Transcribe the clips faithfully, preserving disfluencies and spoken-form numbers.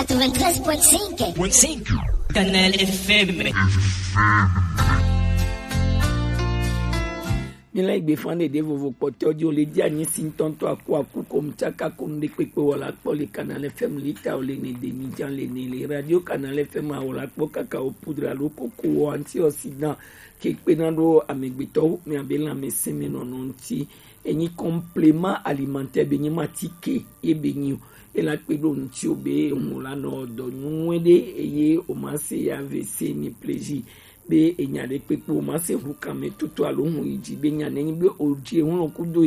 Quatre-vingt-treize point cinq. Point cinq. Canal F M. Mi la igbe fan ɖeɖe vovo kpɔtɔ di o le di anyi si ŋutɔŋutɔ aku aku ko mu tsaka ko nu ɖe kpekpe wɔ la kpɔ le Canal F M lita o le ne de mi jan le ne le radio Canal F M awɔ la kpɔ kaka o poudre alo koko wɔ antioxydant ke kpena ɖo amegbetɔwo mi abe lãmesẽ me nɔnɔ ŋuti. Enyi complément alimentaire be nyi ma tike ye be nyi o. Ela kpe ɖo ŋuti o be ŋu la nɔ dɔ nyuie ɖe eye o ma se ya ve se ni plaisir be enya ɖe kpekpe o ma se ŋu kame tutu alo ŋu yi dzi be nya ne nyi be o dzi eŋu lɔ kudo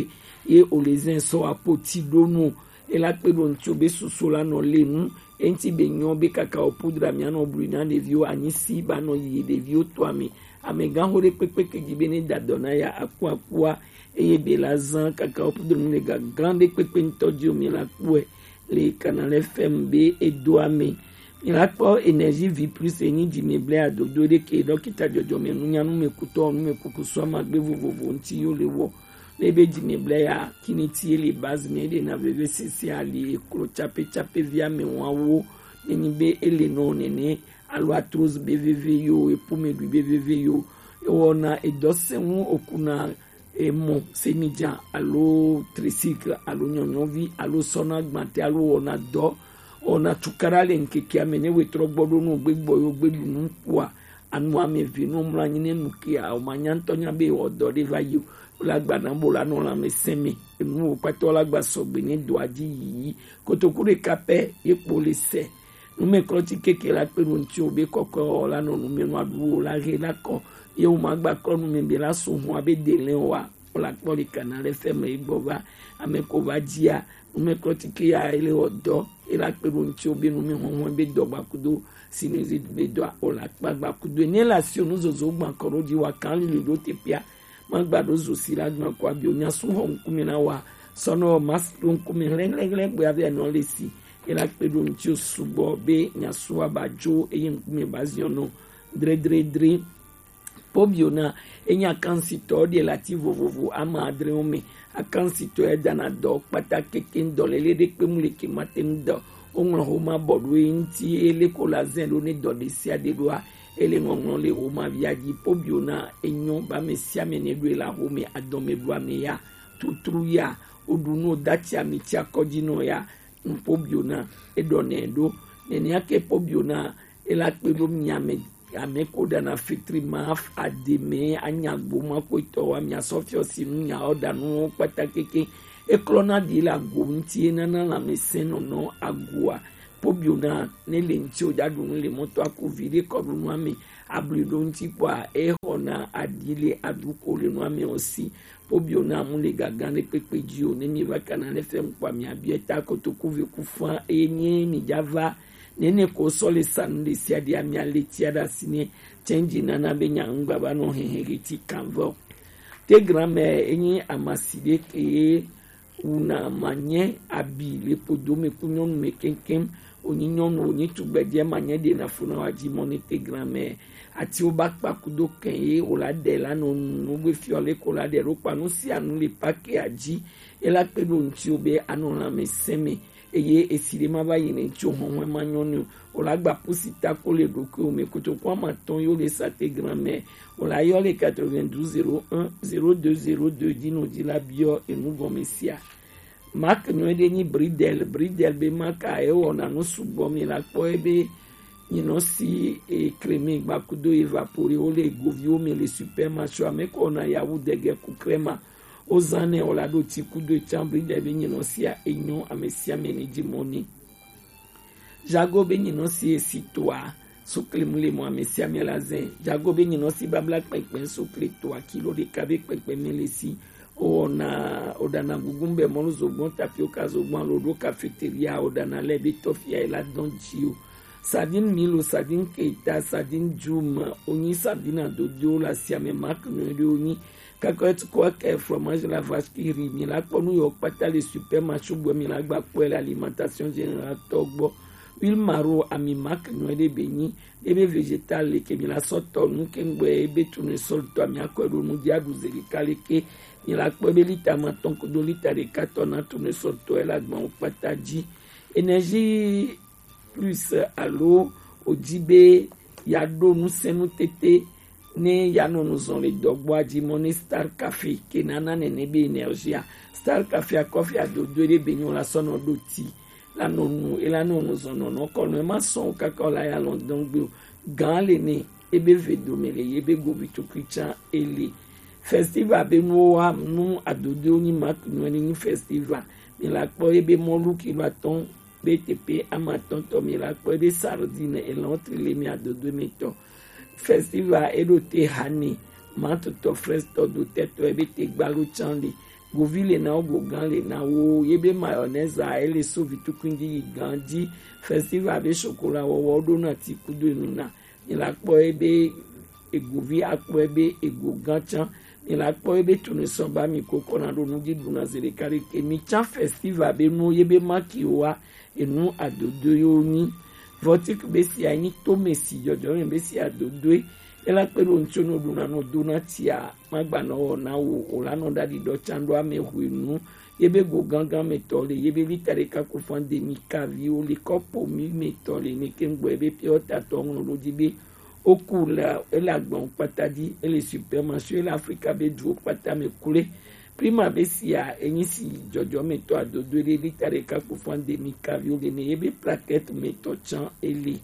ye o le zɛn sɔ apoti ɖo nu o. Ela kpe ɖo ŋuti o be susu la nɔ le nu eŋuti be nyɔ be kaka o poudre mia nɔ blu na ɖeviwo anyi si ba nɔ yi ɖeviwo to ame. Amegãxo ɖe kpekpe ke dzi be ne da dɔ na ya aku akua eye be la zã kaka wo poudre nu le gagã ɖe kpekpe ŋutɔ dzi o mi la kpɔe le Canal F M be edo ame. Mi la kpɔ Énergie Vie Plus enyi dzi mi ble adodo ɖe ke dɔkita dzɔdzɔme nunya nu me kutɔ nu me kuku sɔ ma gbe vovovo ŋuti yo le wɔ. Ne be dzi mi ble ya kini ti ele base me ɖe na veve sese ali eklo tsape tsape via me wawo. Ne nyi be ele nɔ nene alo arthrose be veve yo epo me ɖui be veve yo ewɔna edɔ sɛŋu okuna emɔ semidza alo tricycle alo nyɔnyɔvi alo sɔna gbãtɛ alo wɔna dɔ wɔna cukaɖa le ŋkekea me ne wetrɔ gbɔ ɖo nu gbe gbɔ yo gbe ɖu nu kua anu ame ve nu mlɔ anyi ne nu kia o ma nya ŋutɔ nya be wɔ dɔ ɖe va yi o la gbana bo la nɔ lãmesẽ me enu wo kpata la gba sɔgbe ne dɔa dzi yiyi kotoku ɖeka pɛ ye kpo le sɛ. Numɛklɔti keke la kpe ɖo ŋuti o be kɔkɔe wɔ la nɔ numɛnua ɖu o la he la kɔ ye wo ma gba klɔ numɛ be la so hɔn abe de lɛ wa o la kpɔ le kana lɛ fɛ me gbɔ va ame ko va dzia numɛklɔti ke ya ele wɔ dɔ e la kpe ɖo ŋuti o be numɛ hɔnhɔn be dɔ gba kudo sinusite be dɔa o la kpa gba kudo ne la si o nu zozo gba kɔ ɖo dzi wa kan lili ɖo te pia ma gba ɖo zo si la gba kɔ abi o nya su hɔn ŋkume na wa sɔnɔ ma ɖo ŋkume hlɛhlɛhlɛ gbe abe anɔ le si Ela kpe ɖo ŋuti sugbɔ be miasu aba dzo eye ŋkume ba ziɔ nɔ dredredre. Pobiona enye akansitɔ ɖe le ati vovovo ama adrewo me. Akansitɔ ya dana dɔ kpata keke dɔlele ɖe kpe mu le ke mate ŋu dɔ. Woŋlɔ homa bɔ ɖo ye ŋuti ele ko la zɛ ɖo ne dɔ ɖe sia ɖe ɖoa ele ŋɔŋlɔ le homa via dzi. Pobiona enyo ba me sia me ne ɖoe la home adɔme ɖoa me ya tutru ya woɖu nu dati ami tia kɔdzi nɔ ya. Pobiona eɖɔ nɛ ɖo nɛnɛ ake pobiona ela kpe ɖo miame ame ko ɖana fitri ma ademe anyagbo ma ko etɔ wa mia sɔ fiɔ si nu nya ɔ ɖanu wo kpata keke eklɔna ɖi le ago ŋuti enana lãmesẽ nɔnɔ agoa pobiona ne le ŋuti o ɖaɖu nu le mɔtɔ aku vi ɖe kɔ ɖu nua me abli ɖo ŋuti kpɔa exɔna aɖi le aɖu ko le nua me o si Pobiona mu le gaga ɖe kpekpe dzi o ne mi va kana ne fɛn kpa mi abiɛ ta kotoku ve ku fa eye nye mi dza va nene ko sɔ le sa nu ɖe sia ɖe ami ale tia ɖe asi ne tsenji nana be nya ŋgba va nɔ hehe ke ti kan vɔ. Te granmɛ enyi amasi ɖe ke wuna manye abi le podo me ku nyɔnu me keŋkeŋ. Wonyi nyɔnu wonyi tugbedze manye ɖe na funa wa dzi mɔ ne te granmɛ atiwo ba kpa kudo kɛn ye wòla ɖe la nɔ nu nugbe fiɔ le ko la ɖe ɖo kpa nu sia nu le pake adzi ela kpe ɖo ŋuti wo be anɔ lãmesẽ me eye esi ɖe ma va yi ne ŋuti wo hɔhɔe ma nyɔ ne wòla gba pusi ta ko le ɖokuiwo me kotoku ama tɔn yo le sa te granmɛ wòla yɔ le quatre-vingt-douze zéro un zéro deux zéro deux dzi nɔ dzi la biɔ enu gɔme sia. Mark nyɔe ɖe nyi Bridel, Bridel be mark a ewɔna nu sugbɔ mi la kpɔ ebe nyinɔ si e crème gbakudo evapore wo le goviwo me le supermarché ame ko na yawu dege ku crème a wo zan nɛ o la ɖo ti kudo etsan Bridel be nyinɔ sia enyɔ ame sia ame ni dzi mɔ ni. Jago be nyinɔ si esi toa sukli mu le mɔ ame sia ame la zɛ. Jago be nyinɔ si babla kpɛnkpɛn sukli toa kilo ɖeka be kpɛnkpɛn mi le si. Owɔna oɖana gugun bɛ mɔlu zogbɔn tapioka zogbɔn alo ɖo cafeteria oɖana lɛ be tɔfia yi la dɔn dzi o. Sardine milo sardine keita sardine jum onyi sardine adodo la siame mark nyɔe ɖe onyi. Kakɔt kɔ kɛ fromage la vache qui rit mi la kpɔ nu yɔ kpata le supermarché gbɔ mi la gba kpɔe le alimentation générale tɔ gbɔ. Huile maro ami mark nyɔe ɖe be nyi ebe vegetal le ke mi la sɔ tɔ nu ke ŋgbɛ ebe tournesol tɔ mi akɔe ɖo nu dzi aɖu zeli ka le ke mi la kpɔ ebe lita ma tɔn kudo lita ɖeka tɔ na tournesol tɔ ela gbɔn kpata dzi. Énergie Plus alo o ji be ya ɖo nusenu tete ne ya nɔ nu zɔn le dɔgboa ji mɔ ne Star Cafe ke nana nene be énergie a. Star Cafe a kɔfi adodo ɖe be nyo la sɔ nɔ ɖo ti la nɔ nu e la nɔ nu zɔn nɔ nɔ kɔ nɔ e ma sɔn o kaka o la ya lɔn dɔn gbe o. Gan le ne ebe ve dome le ye be govi tukui can ele. Festival be nuwo wa nu adodo ni ma nu ni festival. Mi la kpɔ ebe mɔlu kilo atɔn be teƒe amatɔtɔ mi la kpɔ ebe sardine elɔn tri le mi adodo mi tɔ. Festival eɖo te hane matotɔ frestɔ do tɛtɔ ebe te gbalo can le. Govi le na wo gogan le na wo ye be mayonnaise a ele so vitukun ji yi gan ji. Festival be chocolat wɔwɔ ɖo na ti kudo enu na. Mi la kpɔ ebe egovi akpɔ ebe ego gan can. Mi la kpɔ ebe tunu sɔn ba mi koko na ɖo nu ji ɖu na zi ɖeka ɖeke mi can festival be nu ye be maki wa enu adodo yo ni. Vɔtik be si anyi to me si jɔjɔ me be si adodoe. Ela kpe ɖo ŋtso no ɖu na no do na tia ma gba nɔ wɔ na wo o la nɔ ɖaɖi ɖɔ can ɖo ame hwe nu. Ye be go gangan me tɔ le ye be lita ɖeka ko fan de mi kavi o le kɔpo mi me tɔ le ne ke ŋgbɔ ye be piɔ ta tɔ ŋlɔ ɖo ji be o ku la ele agbawo kpata ji ele supermarché ele Afrika be duwo kpata me kule. Prima be sia enyi si jɔjɔmetɔ adodo ɖe lita ɖeka ko fan de mi kavi o le ne ye be plaquette me tɔ can ele.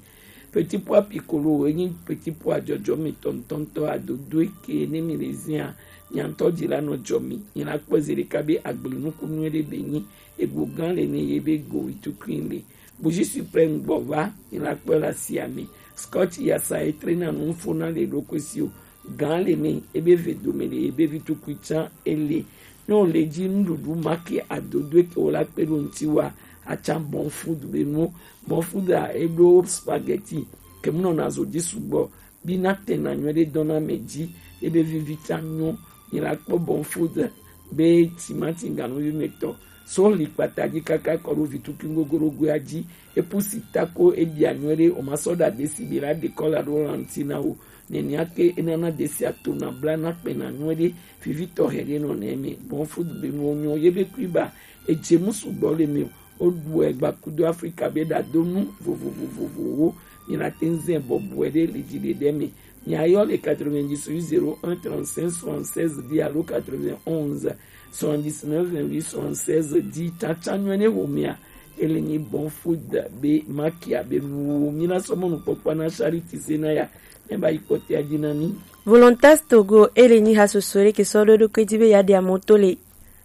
Petit pois piccolo enyi petit pois jɔjɔmetɔ ŋtɔŋtɔ adodo ke ne mi le zia nyantɔ ji la nɔ jɔ mi. Nyi la kpɔ zi ɖeka be agble nuku nyuie ɖe be nyi ego gan le ne ye be go itukuin le. Buji suprême gbɔ va, mi la kpɔe le asia me. Scotch yasa etre na nu fo na le ɖokui si o. Gan le me, ebe ve dome le, ebe vi tukui can ele. Ne o le ji nuɖuɖu ma ke adodo ke o la kpe ɖo ŋti wa, atsa bon food be nu. Bon food a eɖo spaghetti, ke mu nɔ na zo ji sugbɔ. Bi na tɛna nyuie ɖe dɔn na me ji, ebe vivi can nyɔ. Mi la kpɔ bon food be timati ganuvi me tɔ. So li kpata ji kaka kɔ ɖo vituki gogoɖogoea ji. Epusi tako ebia nyuie ɖe o ma sɔ ɖa desi bi la ɖe kɔ la ɖo lanti na wo. Neniake enana desi ato na bla na kpena nyuie ɖe. Vivi tɔ hɛ ɖe nɔ nɛ me. Bon food be nuwo nyɔ ye be kui ba. Edze mu sugbɔ le me o. Woɖu egba kudo Afrika be ɖadonu vovovovovowo. Mi la te ŋ zɛ bɔbɔe ɖe le dzi ɖeɖe me. Mi ayɔ le quatre-vingt-dix-huit zéro un trente-cinq soixante-seize dix alo quatre-vingt-onze soixante-dix-neuf vingt-huit soixante-seize dix. Tsatsa nyuie ne wo mia. Ele nyi bon food be makia be nuwo. Mi la sɔ mɔnukpɔkpɔ na Charity Senaya. Ne ba yi kpɔtea dzi na mi. Volontas Togo ele nyi ha soso ɖe ke sɔ ɖo ɖo ke dzi be ya ɖe amoto le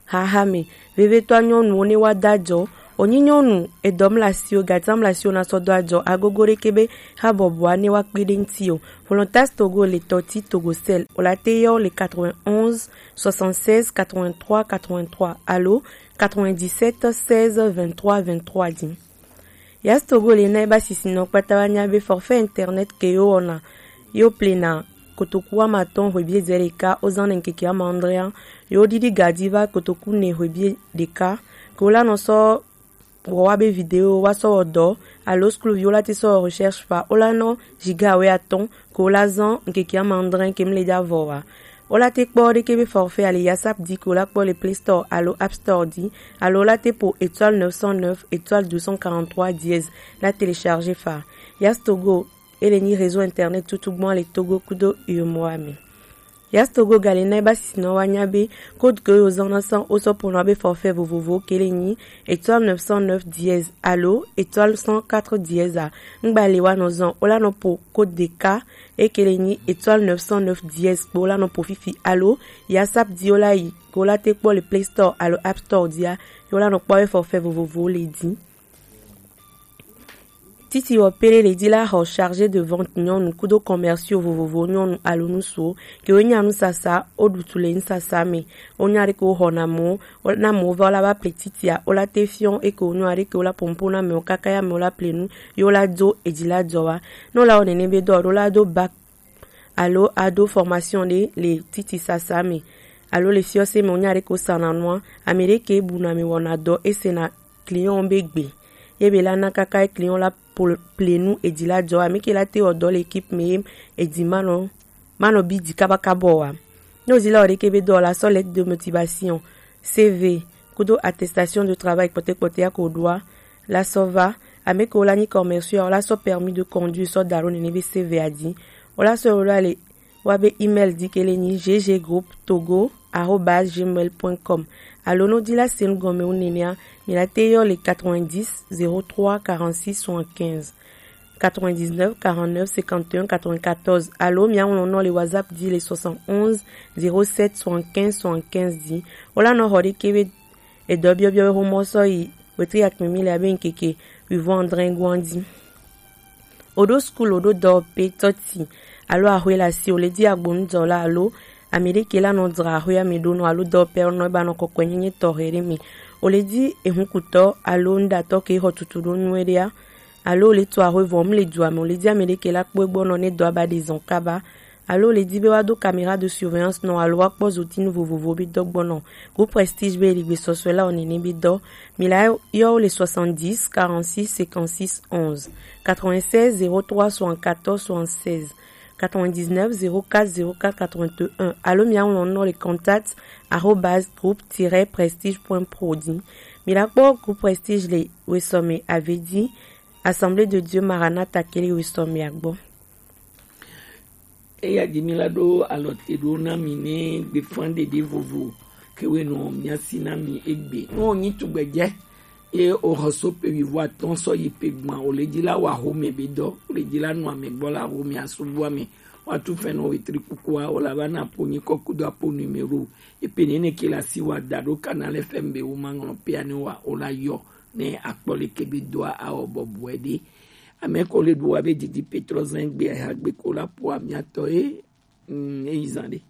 Hahame, vevetɔa nyɔnuwo ne wa do ajɔ. Wònyi nyɔnu edɔm le asiwò, gatiam le asiwò na sɔ do ajɔ agogo ɖeke be habɔbɔa ne wa kpe ɖe ŋti o. Volontas Togo le tɔti Togocel, wò la te yɔ le quatre-vingt-onze soixante-seize quatre-vingt-trois quatre-vingt-trois alo quatre-vingt-dix-sept seize vingt-trois vingt-trois dzi. Yas Togo le na eba sisinɔ kpata wa nya be forfait internet ke yo wɔna yo plena kotoku wama atɔn hwebi edzɛ ɖeka wozan ne ŋkeke wama adrea yo ɖiɖi gaji va kotoku ne hwebi ɖeka ke wola nɔ sɔ wɔ wa be video wa sɔ wɔ dɔ alo skul vi wola te sɔ wɔ recherche fa wola nɔ giga wɛ atɔn ke wola zan ŋkeke wama adrea ke mle ja vɔ wa. Wola te kpɔ ɖeke be forfait ali yasap di ke wola kpɔ le Play Store alo App Store di alo wola te po étoile neuf cent neuf étoile deux cent quarante-trois dièse la télécharger fa. Yas Togo ele nyi réseau internet tutu gbɔn le Togo kudo UEMOA me. Yas Togo gale na eba sisinɔ wa nya be code ke yo zan na san wo sɔ po na be forfait vovovo ke le nyi étoile neuf cent neuf dièse alo étoile cent quatre dièse a. Ŋgba le wa nɔ zan wola nɔ po code ɖeka eke le nyi étoile neuf cent neuf dièse kpo wola nɔ po fifi alo yasap di wola yi ke wola te kpɔ le Play Store alo App Store dia ye wola nɔ kpɔ be forfait vovovo le di. Titi wɔ pele le di la xɔ chargé de vente nyɔnu kudo commerciaux vovovo nyɔnu alo nusuwo ke wo nya nusasa wo ɖutu le nusasa me. Wo nya ɖeke wo xɔ na mɔ na mɔ va wo la va ple titia wo la te fiɔ eke wo nyɔ aɖeke wo la pompo na mɛ wo kaka ya mɛ wo la ple nu ye wo la do edzi la dzɔ wa. Ne wo la wɔ nene be dɔ ɖo la do bac alo ado formation ɖe le titi sasa me alo le fiɔse me wo nya ɖeke wo sana nua ame ɖeke bu na me wɔna dɔ ese na client be gbe ye be la na kaka client la ple nu edzi la dzɔ ame ke la te wɔ dɔ le équipe me ye edzi manɔ manɔ bi dzi kabakaba wa. Ne wo zi la wɔ ɖeke be dɔ la sɔ lettre de motivation, C V kudo attestation de travail kpɔtɛ kpɔtɛ ya ko ɖoa la sɔ va Ame ke wo la nyi commerciaux, wo la sɔ permis de conduire sɔ da ɖo nene be C V a ji. Wo la sɔ wo la le wa be email di ke le nyi G G groupe togo arobase gmail point com. Alo no di la senu gɔme wo nenea, mi la te yɔ le quatre-vingt-dix zéro trois quarante-six soixante-quinze, quatre-vingt-dix-neuf quarante-neuf cinquante et un quatre-vingt-quatorze. Alo mi a ŋlɔ nɔ le WhatsApp di le soixante-onze zéro sept soixante-quinze soixante-quinze di. Wo la nɔ xɔ ɖe ke be edɔ biɔbiɔ be xomɔ sɔ yi wetri akpemi le abe ŋkeke wivɔn adre goan di. Oɖo skul, oɖo dɔwɔƒe, tɔti alo axwe le asi, wòle di agbonudɔla alo ame ɖe ke la nɔ dzra axwea me ɖo nɔ alo dɔwɔƒea nɔ eba nɔ kɔkɔenyenye tɔxɛ ɖe me. Wòle di ehunkutɔ alo nuɖatɔ ke xɔ tutu ɖo nyuie ɖea, alo wòle tu axwe vɔ mu le dua me, wòle di ame ɖe ke la kpɔ egbɔ nɔ ne dɔa ba ɖe zɔn kaba, alo wòle di be woado caméra de surveillance nɔ alo woakpɔ zotinu vovovo be dɔ gbɔ nɔ. Groupe Prestige be li gbesɔsɔe la wɔ nene be dɔ. Mi la yɔ wo le soixante-dix quarante-six cinquante-six onze, quatre-vingt-seize zéro trois soixante-quatorze soixante-seize, quatre-vingt-dix-neuf zéro quatre zéro quatre quatre-vingt-un, alo mi a ŋlɔ nɔ le contact arobase groupe tiret prestige point pro di. Mi la kpɔ Groupe Prestige le wesɔme ave di Assemblée de Dieu Maranatha ke le wesɔmea gbɔ. Eya di mi la ɖo alɔ te ɖo na mi ne gbefan ɖeɖe vovo ke we nɔ mia si na mi egbe. No nyi tugbedze ye o xɔ so pe wivɔ atɔn sɔ yi pe gbɔn, o le di la wa xome be dɔ, o le di la nɔ ame gbɔ la xome asubu ame. Wa tu fɛn nɔ wetri kukua, o la va na po nyi kɔku do apo numéro. Epe nene ke la si wa da ɖo Canal F M be wo ma ŋlɔ pe ani wa, o la yɔ ne akpɔ le ke be doa awɔ bɔbɔe ɖe. Ame ko le ɖu wa be didi Petro zɛn gbe ha gbe ko la po amiatɔ ye. Mm, eyi zan ɖe.